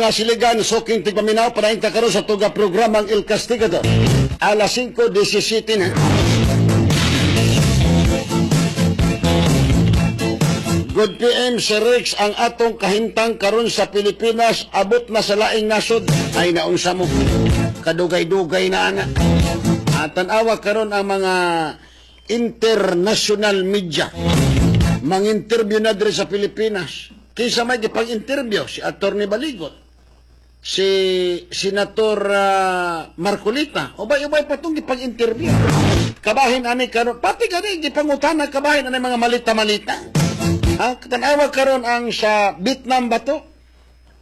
Mga siligan, suking tigpaminaw, padayon ta karon sa tuga programang El Castigador. Alas 5:17 na. Good PM, Sir Rex, ang atong kahimtang karon sa Pilipinas abot na sa laing nasod. Ay, naunsa mo. Kadugay-dugay na ana. At tan-awa karon ang mga international media. Mang-interview na diri sa Pilipinas. Kinsa may gipang-interview? Si Attorney Baligot. Si Senator Marcolita. Ubay-ubay pa itong gipang-interview. Kabahin ani karon, pati gani gipangutana kabahin ani mga malita-malita. Ha? Tanawa karon ang sa Vietnam ba to?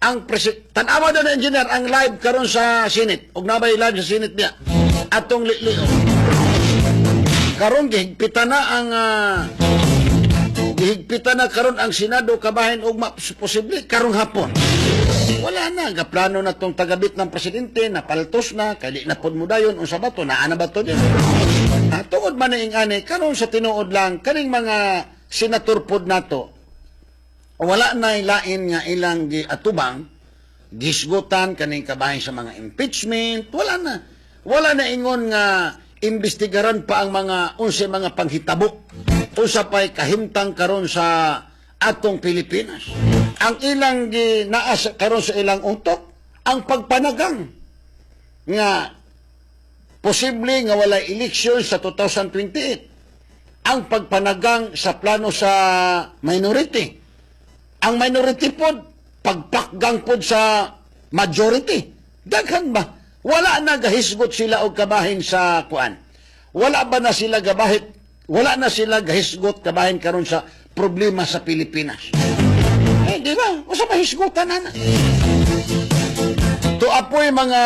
Ang tanawa daw na engineer ang live karon sa Senate. Og nabay live sa Senate niya. Atong litlio. Karon gihigpitan na karon ang Senado kabahin og posible karong hapon. Wala na, gaplano na tong tagabit ng presidente, napaltos na, kay di na pod mo dayon, unsa ba to, naa na ba to din? Ha, tungod man ni ani, karon sa tinuod lang, kaning mga senator pod nato, wala na lain nga ilang giatubang, gisgutan kaning kabahin sa mga impeachment, wala na. Wala na ingon nga imbestigaran pa ang mga unsay mga panghitabo. Unsa pa'y kahimtang karon sa atong Pilipinas. Ang ilang ginaas karon sa ilang utok, ang pagpanagang nga posible nga walay eleksyon sa 2028. Ang pagpanagang sa plano sa minority. Ang minority pod, pagpakgang pod sa majority. Daghan ba? Wala na gahisgot sila og kabahin sa kuan. Wala ba na sila gabahit? Wala na sila gahisgot kabahin karon sa problema sa Pilipinas. Eh, di ba? Usa pa hisgutan na. To apoy mga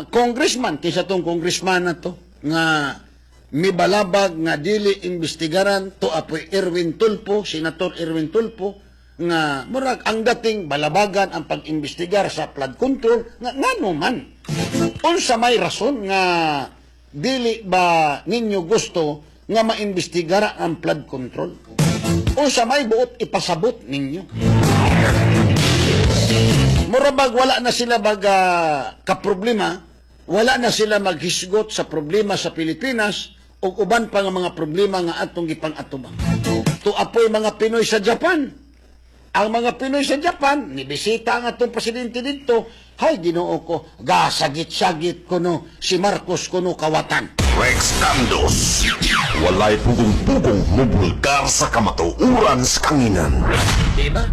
congressman, kaysa tong congressman na to, nga mibalabag nga dili imbestigaran, to apoy Erwin Tulfo, Senator Erwin Tulfo, nga murag ang dating balabagan ang pag-imbestigar sa flood control, nga ngano man? Unsa may rason nga dili ba ninyo gusto nga maimbestigara ang flood control? Unsa may buot ipasabot ninyo? Murabag wala na sila baga kaproblema, wala na sila maghisgot sa problema sa Pilipinas ug uban pa nga mga problema nga atong gipang-atubang. To apoy mga Pinoy sa Japan. Ang mga Pinoy sa Japan, nibisita ang atong presidente dito, hay Ginoo ko, gasagit-sagit kuno si Marcos kuno kawatan. Rex Candos. Walay pugong-pugong mubulgar sa kamatuoran sa kanginan. Diba?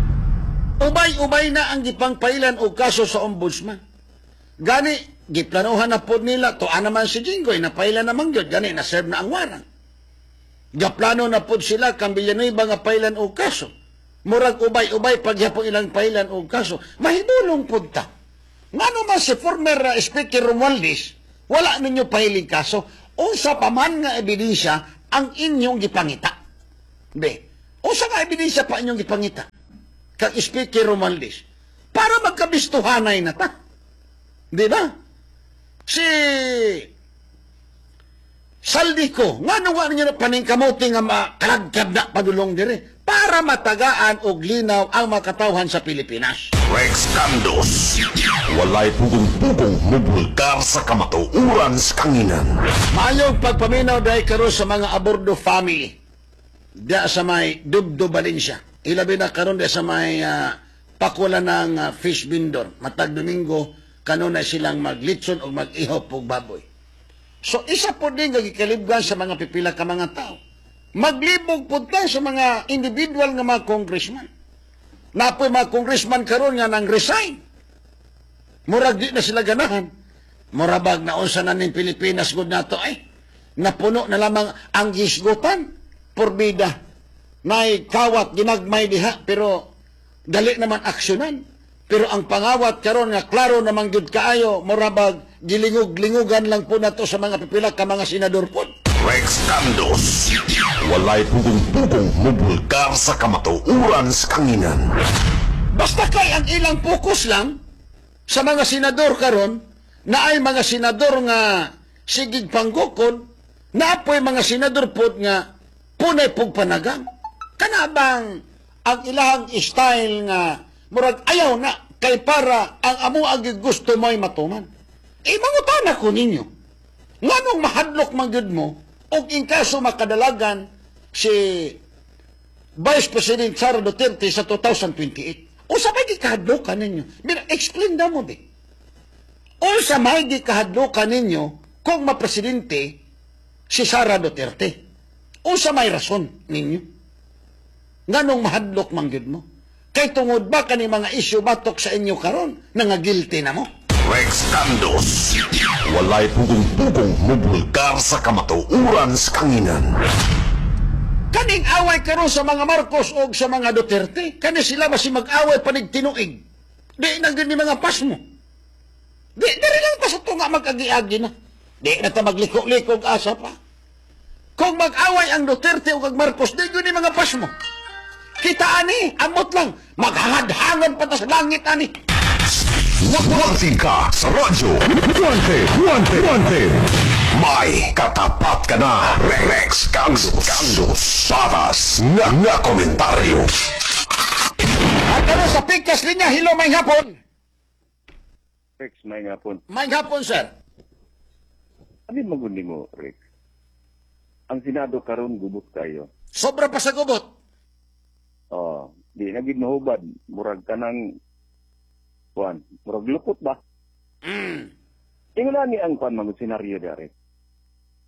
Ubay-ubay na ang gipangpailan og kaso sa ombudsman. Gani, giplanuhan na po nila, tuan naman si Jinggoy, napailan naman gyud, gani, na-serve na ang warang. Gaplano na po sila, kang Villanueva nga pailan og kaso. Murag ubay-ubay pagyapon ilang pailan og kaso. Mahidulong po ta. Ngano man si former Speaker Romualdez, wala ninyo pahiling kaso, unsa pa man nga ebidensya ang inyong gipangita? Be, unsa nga ebidensya pa inyong gipangita? Kang Speaker Romualdez, para magkabistuhanay na ta. Di ba? Si Zaldy Co, ngano nga ninyo na paningkamuti nga makalagkad na padulong dire para matagaan og linaw ang makatawhan sa Pilipinas. Rex Candos. Walay pugong-pugong mubulgar sa kamatuoran sa kanginan. Maayong pagpaminaw dahil karon sa mga Abordo family. Diya sa may Dubdo, Valencia. Ilabi na karon diya sa may pakula ng fish vendor. Matag Domingo, kanunay silang maglitson o mag-ihop og baboy. So isa po din nga gikalibgan sa mga pipila ka mga tao. Maglibog po tayo sa mga individual nga mga congressman. Napoy mga congressman karon nga nang resign. Murag di na sila ganahan. Murabag na unsa na ning Pilipinas gud nato ay. Napuno na lamang ang gisgutan. Porbida. Nay kawat ginagmay diha pero dali naman aksyonan. Pero ang pangawat karon nga klaro namang gyud kaayo, murabag gilingog-lingugan lang po nato sa mga pipila ka mga senador po. Rex Candos. Walay pugong-pugong mubulgar sa kamatuoran sa kanginan. Basta kay ang ilang focus lang sa mga senador karon na ay mga senador nga sigig panggukod, na apoy mga senador pod nga punay pug panagang. Kana bang ang ilang style nga murag ayaw na Kay para ang amo ang gusto mo'y matuman. E mangutana ko ninyo. Nganong mahadlok man gyud mo og in kaso makadalagan si Vice President Sara Duterte sa 2028? Unsa may gikahadlokan ninyo? Mira, explain na mo di. Unsa may gikahadlokan ninyo kung mapresidente si Sara Duterte? Unsa may rason ninyo? Nganong mahadlok man gyud mo? Kay tungod ba kani mga isyu batok sa inyo karon na nga guilty na mo? Rex Candos. Walay pugong-pugong mubulgar sa kamatuoran sa kanginan. Kaning away karon sa mga Marcos o sa mga Duterte, kani sila basi mag-away panig tinuig. Di na gyud ni mga pasmo. Di diri lang pa sa tunga mag-agi-agi na. Di na ta magliko-liko og asa pa. Kung mag-away ang Duterte o ang Marcos, di gyud ni mga pasmo. Kita ani, amot lang, maghangad-hangad pa ta sa langit ani. Wanted ka sa radyo. Wanted, wanted, wanted. May katapat ka na. Rex Candos. Candos. Patas nga nga komentaryo. At karon sa Picas Linya, hello, may hapon. Rex, may nga po. May hapon, sir. Ano yung magundi mo, Rex? Ang Senado karon gubot kayo. Sobra pa sa gubot. Oh, di na gid mahubad. Murag ka ng kuan, murag lukot ba? Tingnan ni ang kuan mga senaryo da, Rex.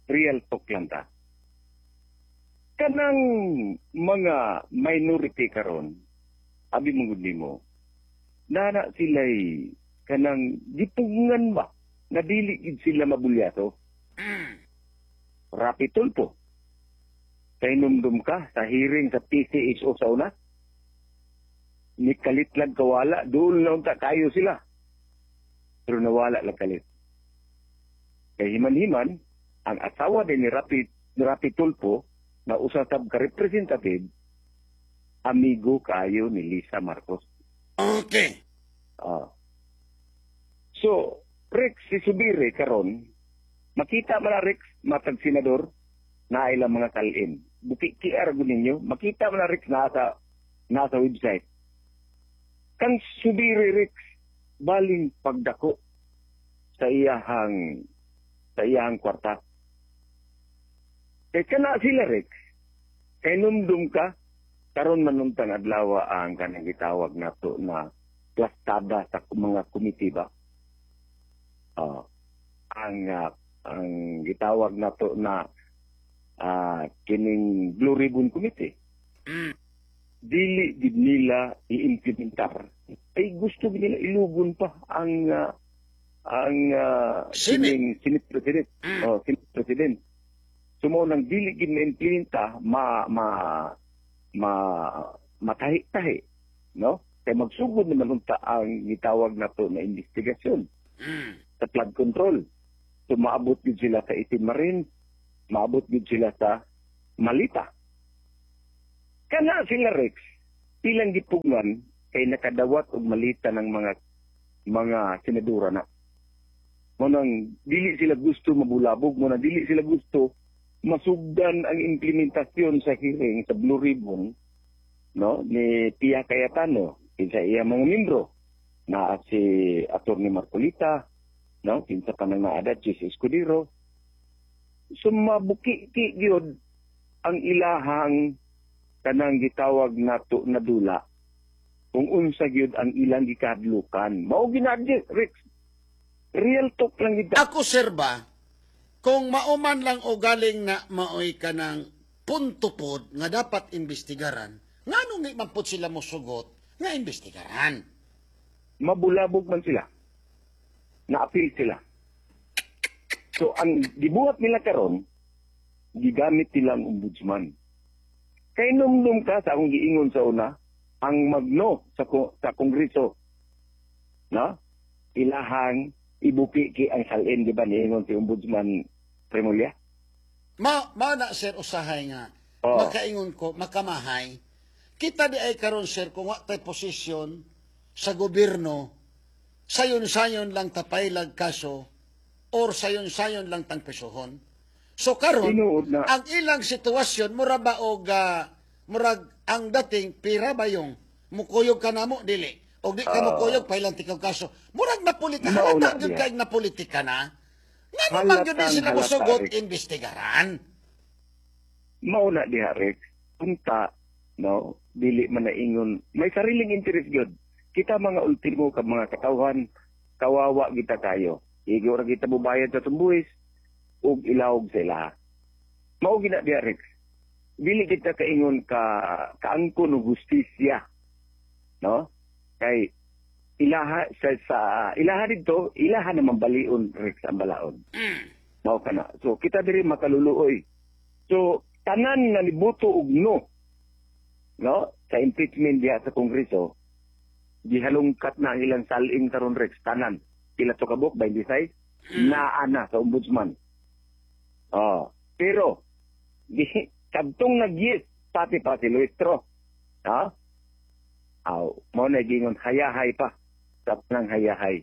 Real talk lang ta. Kanang mga minority karon, abi mong mo, nana sila'y kanang gipugngan ba na dili gid sila mabulyato. Rapi Tulfo. Kay numdum ka sa hearing sa PCSO sa una. Ni kalit lang kawala, doon lang ta kayo sila. Pero nawala lang kalit. Kay himan-himan, ang asawa din ni Rapi Tulfo na usa sab ka representative, amigo kayo ni Lisa Marcos. Ah. So, Rex, si Zubiri karon, makita man na Rex, matag senador, na ilang mga kalin. Buki QR ko ninyo, makita man na Rex nasa website. Kang Zubiri, Rex, baling pagdako sa iyahang kwarta. Kay kana sila, Rex, kay numdum ka, karon man untang adlaw ang kanang gitawag nato na plastada sa mga komite ba? Ah, ang gitawag nato na kining Blue Ribbon Committee. Dili gid nila i-implementar. Ay gusto gid nila ilugon pa ang Senate. Kining Senate President. Oh, Senate President. So mao nang dili gid ma-implementa, ma ma ma matahi-tahi, no? Kay magsugod naman unta ang gitawag nato na investigasyon sa flood control. So maabot gid sila sa itim marin, maabot gid sila sa malita. Kana sila, Rex, ilang gipugngan kay nakadawat og malita ng mga senadora na. Mo nang dili sila gusto mabulabog, mo nang dili sila gusto masugdan ang implementasyon sa hearing sa Blue Ribbon, no, ni Pia Cayetano kinsa iya mga membro na si Attorney Marcolita, no, kinsa pa nang naada, Chiz Escudero. So mabuki-ki gyud ang ilahang kanang gitawag nato na dula kung unsa gyud ang ilang gikadlukan. Mao ginadyo, Rex, real talk lang gid. Ako, sir, ba, kung mauman lang o galing na maoy ka ng punto pod nga dapat imbestigaran, nganong nga man pod sila mosugot nga imbestigaran? Mabulabog man sila. Na-appeal sila. So, ang gibuhat nila karon, gigamit nila ang ombudsman. Kay numdum ka sa akong giingon sa una, ang magno sa kongreso, no? Ilahang ibuki-ki ang salin, di ba niingon si Ombudsman Remulla? Ma na sir usahay nga makaingon ko makamahay kita di ay karon, sir, kung wa tay posisyon sa gobyerno, sayon-sayon lang tapaylag kaso or sayon-sayon lang tang presohon. So karon Tinuod na. Ang ilang sitwasyon mura ba og murag ang dating pira ba yung mukuyog ka namo dili. Og di ka mo kuyog, pailan tikaw kaso. Murag na politika, Mauna halata gyud diha. Kay na politika na. Nga naman gyud di Halatang sila halata, mosugot, Rick. Investigaran. Mauna diha, Rex. Unta, no, dili man na ingon may sariling interest gyud. Kita mga ultimo ka mga katawhan, kawawa kita kayo. Igo ra kita bubayad sa tumbuhis ug ilawog sa ilaha. Mao gina diha, Rex. Dili kita kaingon ka kaangkon og hustisya. No? Kay ilaha sa ilaha didto, ilaha naman balion, Rex, ang balaod. Mao kana. So kita diri makaluluoy. So tanan nga niboto og no, no, sa impeachment diha sa Kongreso, gihalungkat na ang ilang salin karon, Rex, tanan. Pila to kabuk? 26 naa na sa ombudsman. Oh, pero di kadtong nag-yes pati pa si Luistro. Ha? Aw, mao na gingon hayahay pa. Sa nang hayahay.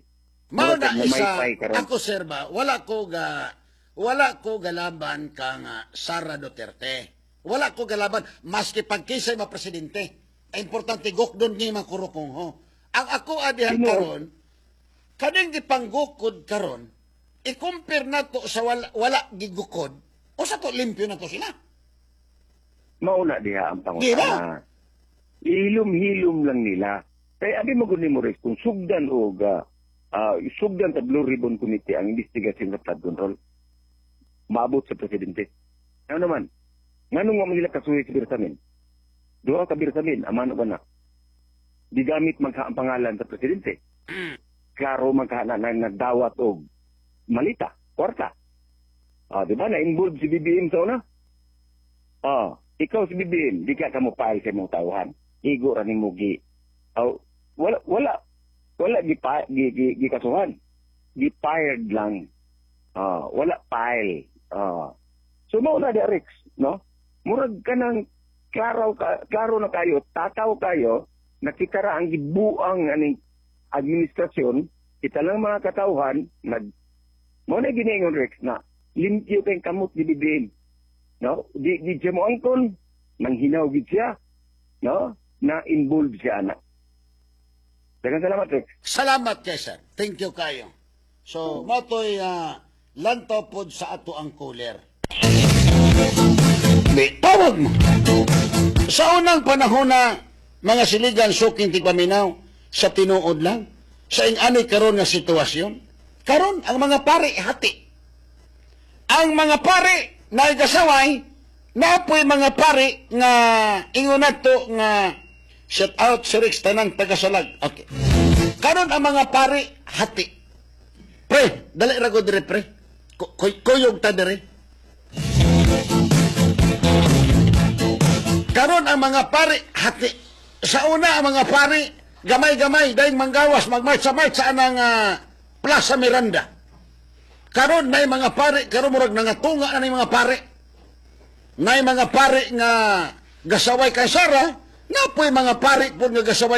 Mao na Murag isa, namaypay karon. Ako, sir ba, wala ko galaban kang Sara Duterte. Wala ko galaban maski pagkisay ma presidente. Ang importante gukdon ni mga kurukong ho. Ang ako adihan Sino? Karon, kaning gipanggukod karon, i-compare nato sa wala gigukod, o sa to limpyo na to sila. Mauna diha ang Di ba? pangutana. Hilom-hilom lang nila. Kaya abi mo gud mo, Rex, kung sugdan og sugdan sa Blue Ribbon Committee ang investigasyon sa flood control, maabot sa presidente. Ano naman? Nganong wa man nila kasuhi si Bersamin? Duha ka Bersamin, amano ba na? Gigamit man ka ang pangalan sa presidente. Klaro man ka na nagdawat og malita, kwarta. Ah, di ba? Na-involve si BBM sa una? Ah, ikaw si BBM, di ka mo file sa imong tawhan. Igo ra nimo gi. Aw, wala gi pa, gi kasuhan. Gi fired lang. Ah, wala file. Ah. So mao na di, Rex, no? Murag ka nang klaro ka, klaro na kayo, takaw kayo, nakita ra ang gibuang aning administrasyon, kita lang mga katawhan nag mao na giningon, Rex, na limpyo kay kamot ni BBM. No? Di siya mo angkon, manghinaw gid siya, no? Na involved siya ana. Daghang salamat, Rex. Salamat kay sir. Thank you kayo. So, mao to'y lantaw pod sa ato ang cooler. Di, tawag mo. Sa unang panahon na mga siligan suking tigpaminaw, sa tinuod lang, sa ing-ani karon nga sitwasyon, karon ang mga pare hati. Ang mga pare na gasaway, napoy mga pare nga ingon nato nga shout out si Rex tanang tagasalag. Okay. Karon ang mga pare hati. Pre, dali ra ko dire, pre. Kuyog ta dire. Karon ang mga pare hati. Sa una ang mga pare gamay-gamay dahil manggawas magmarcha-marcha anang Plaza Miranda. Karon nay mga pare karon murag nangatunga na ning mga pare. Nay mga pare nga gasaway kay Sara, napoy mga pare pud nga gasaway.